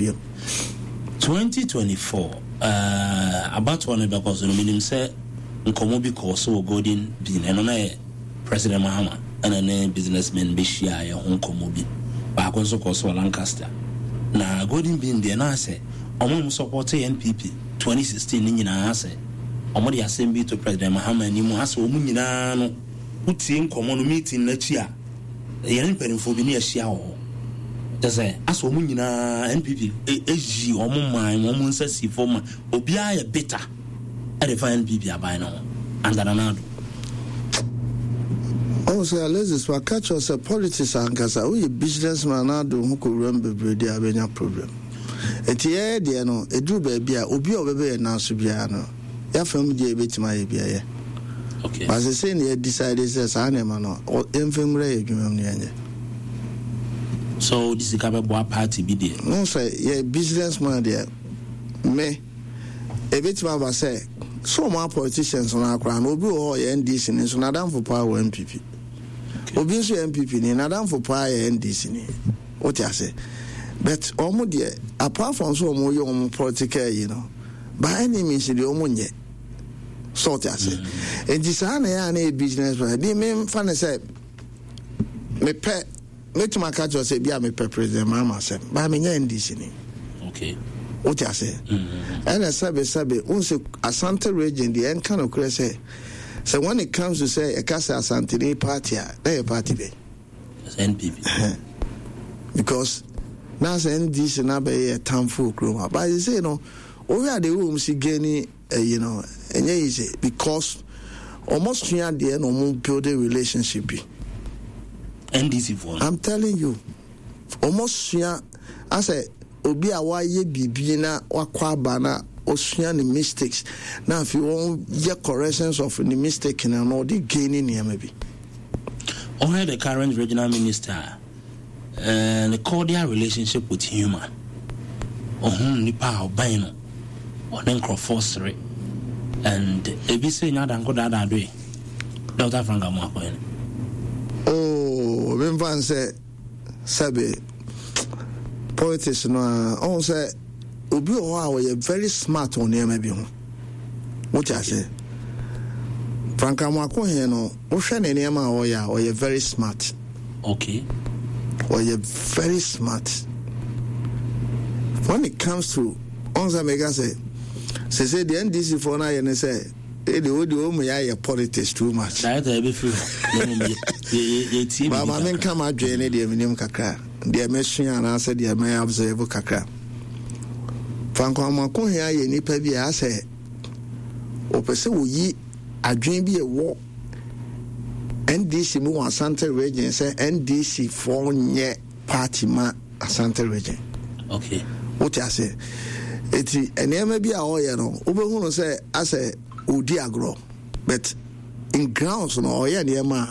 biom. 2024 uh, abatoɔ no bɛkɔ so no, menim sɛ nkɔmmɔ bi kɔɔ so wɔ Golden Bean, ɛno na yɛ President Mahama ɛna ne businessmen bɛhyia yɛ ho nkɔmmɔ bi. Baako nso kɔɔ so wɔ Lancaster. Na Golden Bean deɛ na sɛ ɔmo a ɔmo sɔpɔte NPP 2016 no nyinaa sɛ ɔmo de asɛm bi to President Mahama anim asɛ ɔmo nyinaa no wotie nkɔmmɔ no meeting no akyi a yɛne mpanimfoɔ bi ne yɛahyia wɔ hɔ. Kyɛ sɛ asɛ wɔn nyinaa NPP ayi wɔn man wɔn nsa si fam ma obiara yɛ bitter ɛde fa NPP aban no ho under Nana Addo. Ɔhu sɛ Alexis waka kyerɛ sɛ politics ankasa woyɛ business man na ade wo ho kɔwura mu bebree deɛ abɛnya problem. Nti yɛyɛ deɛ no ɛduru baabi a obi a ɔbɛbɛ yɛn nan so biara no Yɛafa mu deɛ yɛbɛtumi ayɛ biara yɛ. Okay. But sesei na yɛ decide sɛ saa nneɛma no yɛmfa nwura yɛ adwuma mu na yɛnyɛ. So wode sika bɛboa party bi deɛ? No sɛ yɛ business man deɛ me ebɛtumi aba sɛ so wɔn a politicians no akora no obi wɔ hɔ ɔyɛ NDC ni nso n'adamfo paa wɔ NPP. Obi nso yɛ NPP ni n'adamfo paa yɛ NDC ni. Wote ase? But wɔn deɛ apart from so wɔn yɛ wɔn political yi no. By any means deɛ ɔmo nyɛ sɛ ɔte ase nti saa na ɛyɛ a na yɛ business man bi memfa ne sɛ mepɛ mɛtumi aka kyerɛ sɛ bi a mepɛ President Mahama asɛm baa menyɛ NDC ni. Okay. Wote ase? Ɛna sɛbe sɛbe wohu sɛ Asante region deɛ ɛnka nokorɛ sɛ sɛ when it comes to sɛ ɛka sɛ Asanteni party a na yɛ party bɛn? NPP. Because na sɛ NDC na bɛyɛ yɛ tamfo wɔ kurom ha. But sɛ no, wohwɛ ade wɔ mu si gani ɛyi no, ɛnyɛ easy because wɔn sua adeɛ na wɔn build a relationship bi. NDC for. I'm telling you, wɔn sua asɛ obi a wayɛ biribi na wakɔ aba na osua ne mistakes na afei wɔn yɛ corrections of ne mistake na na ɔde gain nneɛma bi. Ɔhwɛ the current regional minister uh, ne cordial relationship with human. Ɔhunu nipa a ɔbɛn no, ɔne nkurɔfoɔ sere and ebi sɛ nya adanko daadaa doe. Dr. Frank Amoakohene. Oh, memfa nsɛ sɛbe politics no a ɔhu sɛ obi wɔ hɔ a ɔyɛ very smart wɔ nneɛma bi ho. Wote ase? Frank Amoakohene no, wohwɛ ne nneɛma a ɔyɛ a, ɔyɛ very smart. Okay. Ɔyɛ very smart. When it comes to ɔn sɛ meka sɛ sese deɛ NDC foɔ no ayɛ ne sɛ ɛde wo deɛ ɔmu yɛ ayɛ politics too much. Director ɛbɛfiri hɔ na mmom yɛtie biribi kakra. Menka m'adwene ne deɛ menim kakra, deɛ mesua anaasɛ deɛ mɛ observe kakra. Frank Amoakohene ayɛ nipa bi a asɛ ɔpɛ sɛ wɔyi adwene bi ɛwɔ NDC mu wɔ Asante region sɛ NDC foɔ nyɛ party ma Asante region. Okay. Wote ase? Eti nneɛma bi a ɔyɛ no, wobɛhu no sɛ asɛ ɔdi agorɔ but in grounds no ɔyɛ nneɛma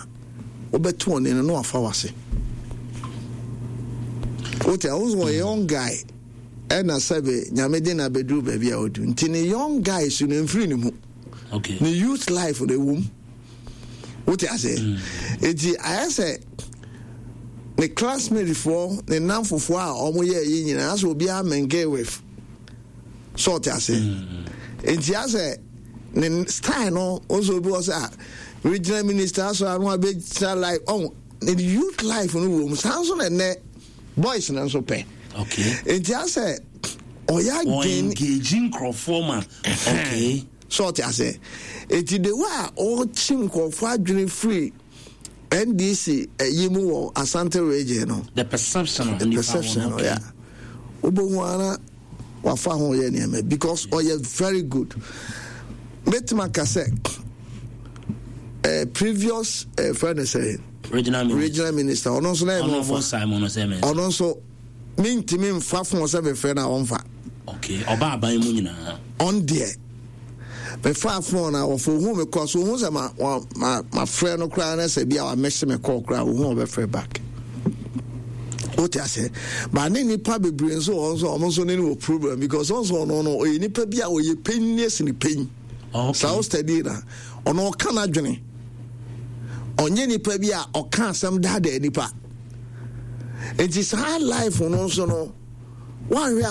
a wobɛto ɔne no na wafa wase. Wote a wo ɔyɛ young guy ɛna sɛbe nyame de na bɛduru baabi a ɔdu nti ne young guy so no mfiri ne mu. Okay. Ne youth life no ɛwom. Wote ase? Eti ayɛ sɛ ne classmate foɔ ne namfofoɔ a wɔn yɛ yi nyinaa asɛ obiara mingle with so ɔte ase. Nti asɛ ne style no nso obi wɔ sɛ a regional minister asɔ ano abɛgyina life ɔn ne youth life no wɔ mu saa nso na ɛnɛ boys no nso pɛ. Okay. Nti asɛ ɔyɛ adwene. Engage nkurɔfoɔ ma. Okay. So ɔte ase? Eti the way a ɔkye nkurɔfoɔ adwene firi NDC ɛyi mu wɔ Asante region no. The perception of the perception no, yeah. Wobɛhu ara wafa ho yɛ nneɛma because ɔyɛ very good. Mɛtumi aka sɛ previous friend sɛ regional minister, regional minister ɔno nso na yɛ mɔfa ɔno nso mentumi mfa fon sɛ mefrɛ no a ɔmfa. Okay, ɔba aban mu nyinaa. Ɔn deɛ mefaa fon na wɔfo ohun me kɔ so ohun sɛ ma ma ma frɛ no koraa na sɛ bi a wamɛhyɛ me kɔɔ koraa ohun ɔbɛfrɛ back. Wote ase? Ba ne nipa bebree nso wɔn nso wɔn nso ne no wɔ problem because wɔn nso ɔno no ɔyɛ nipa bi a ɔyɛ panyin ne esini panyin. Okay. Saa o steady na ɔno ɔka n'adwene. Ɔnyɛ nipa bi a ɔka asɛm daadaa nipa. Nti saa life no nso no wɔanhwɛ a.